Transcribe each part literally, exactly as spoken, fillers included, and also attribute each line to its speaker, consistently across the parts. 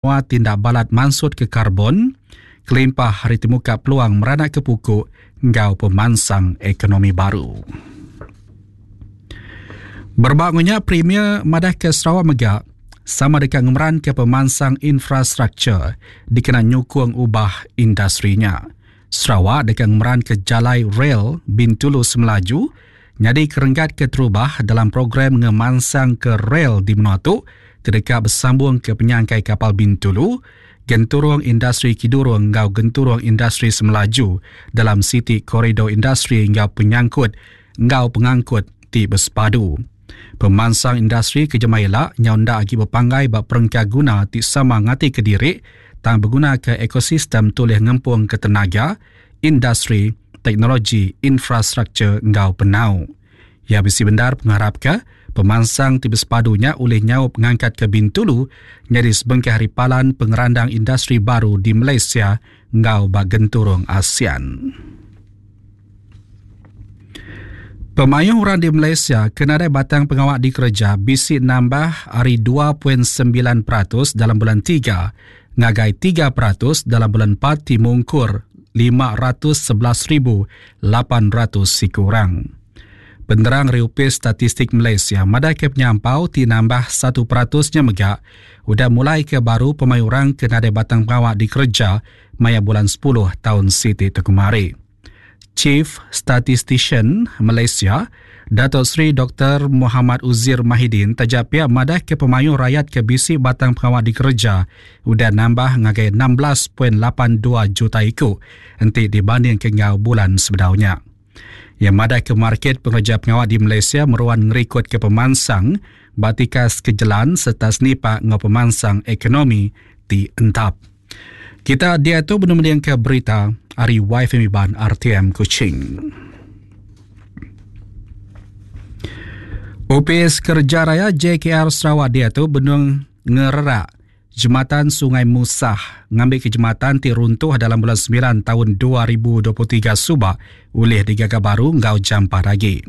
Speaker 1: Menua ti enda balat mansutka karbon kelimpah ari ti muka peluang meranakka puku enggau pemansang ekonomi baru. Berebak enggau nya, Premier madahka Sarawak mega sama deka ngemeranka pemansang infrastruktur dikena nyukung ubah industri nya. Sarawak deka ngemeranka jalai rel Bintulu Semelaju nyadi kerenggat keterubah dalam program ngemansangka rel di menua tu ti deka besambungka penyangkai kapal Bintulu, Genturung Industri Kidurong enggau Genturung Industri Semelaju dalam siti koridor industri enggau penyangkut enggau pengangkut ti besepadu. Pemansang industri ke jemah ila nyau enda agi bepanggai ba perengka guna ti sama ngatika diri tang begunaka ekosistem tulih ngempungka tenaga, industri, teknologi, infrastruktur enggau penau. Iya bisi bendar pengarapka pemansang ti besepadu nya ulih nyaup ngangkatka Bintulu nyadi sebengkah ari palan pengerandang industri baru di Malaysia enggau ba genturung ASEAN. Pemayuh orang di Malaysia ke nadai batang pengawa dikereja bisi nambah ari dua poin sembilan peratus dalam bulan tiga ngagai tiga peratus dalam bulan empat ti mungkur lima ratus sebelas ribu lapan ratus siku orang. Penerang ari Opis Statistik Malaysia madahka penyampau ti nambah satu peratus nya mega udah mulaika baru pemayuh orang ke nadai batang pengawa dikereja maya bulan sepuluh taun siti tu kemari. Chief Statistician Malaysia, Datuk Seri Doktor Muhammad Uzir Mahidin taja pia madahka pemayuh rayat ke bisi batang pengawa dikereja udah nambah ngagai enam belas poin lapan dua juta iku enti dibandingka enggau bulan sebedau nya. Iya madahka market pengereja pengawa di Malaysia meruan ngerikodka pemansang ba tikas ke jelan sereta senipak enggau pemansang ekonomi ti entap. Kita diatu benung mendingka berita ari Y F M Iban R T M Kuching. Opis Kerja Raya J K R Sarawak diatu benung ngererak Jematan Sungai Musah ngambika jematan ti runtuh dalam bulan sembilan taun dua ribu dua puluh tiga suba ulih digaga baru enggau jampat agi.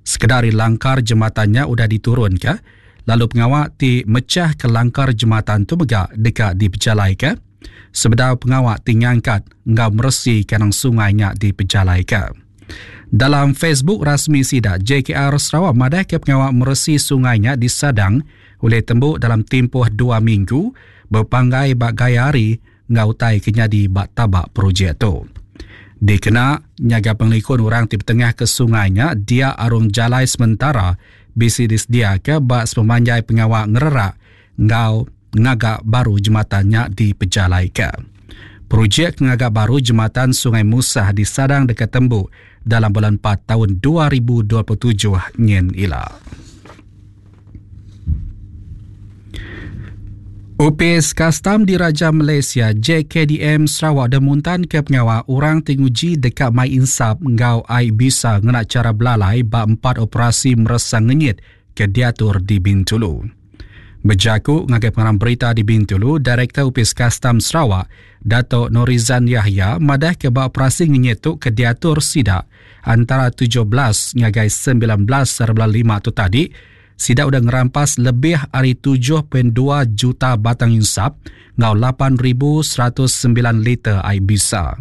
Speaker 1: Sekeda ari langkar jematan nya udah diturunka lalu pengawa ti mechah ke langkar jematan tu mega deka dipejalaika sebedau pengawa ti ngangkat enggau meresi kandang sungai nya dipejalaika. Dalam Facebook rasmi sida, J K R Sarawak madahka pengawa meresi sungai nya disadang ulih tembu dalam timpuh dua minggu bepanggai ba gaya hari enggau utai ke nyadi ba tabak projek tu. Dikena nyaga pengelikun orang ti betengah ke sungai nya, dia arung jalai sementara bisi disediaka ba sepemanjai pengawa ngererak enggau ngaga baru jematan nya dipejalaika. Projek ngaga baru jematan Sungai Musah disadang deka tembu dalam bulan empat taun dua ribu dua puluh tujuh nyin ila. Opis Kastam Diraja Malaysia J K D M Sarawak dah muntanka pengawa orang ti nguji deka mai insap enggau ai bisa ngena chara belalai ba empat operasi meresa ngenyit ke diatur di Bintulu. Bejaku ngagai pengarang berita di Bintulu, Direktor Opis Kastam Sarawak, Dato' Norizan Yahya madahka ba operasi ngenyit tu ke diatur sida antara tujuh belas ngagai sembilan belas bulan lima tu tadi, sida udah ngerampas lebih ari tujuh poin dua juta batang insap enggau lapan ribu seratus sembilan liter ai bisa.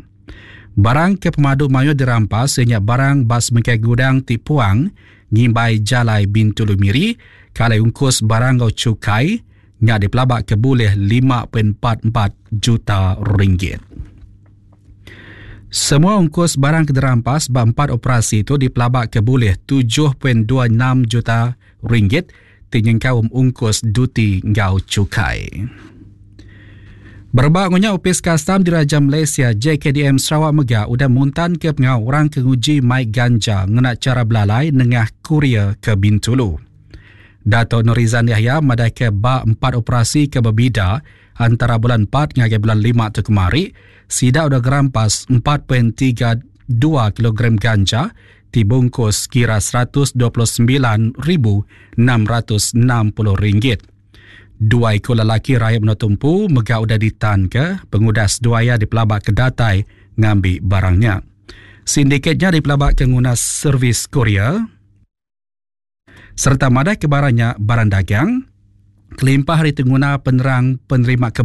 Speaker 1: Barang ke pemadu mayuh dirampas iya nya barang ba sebengkah gudang ti puang ngimbai jalai Bintulu Miri, kalai ungkus barang enggau cukai nya dipelaba ke bulih lima poin empat empat juta ringgit. Semua ungkus barang ke dirampas ba empat operasi itu dipelaba ke bulih tujuh poin dua enam juta ringgit ti nyengkaum ungkus duti enggau cukai. Berebak ngunya Opis Kastam Diraja Malaysia J K D M Sarawak mega udah muntanka pengawa orang ke nguji mai ganja ngena chara belalai nengah kurier ke Bintulu. Dato' Norizan Yahya madahka ba empat operasi ke bebida antara bulan empat ngagai bulan lima tu kemari, sida udah gerampas empat poin tiga dua kilogram ganja ti bungkus kira seratus dua puluh sembilan ribu enam ratus enam puluh ringgit. Dua iku lelaki rakyat menua tumpu mega udah ditanka pengudah seduaya dipelabak ke datai ngambi barangnya. Sindikatnya dipelabak ke nguna servis kurier serta madah ke barangnya barang dagang Kelimpah ari ti nguna penerang penerima ke.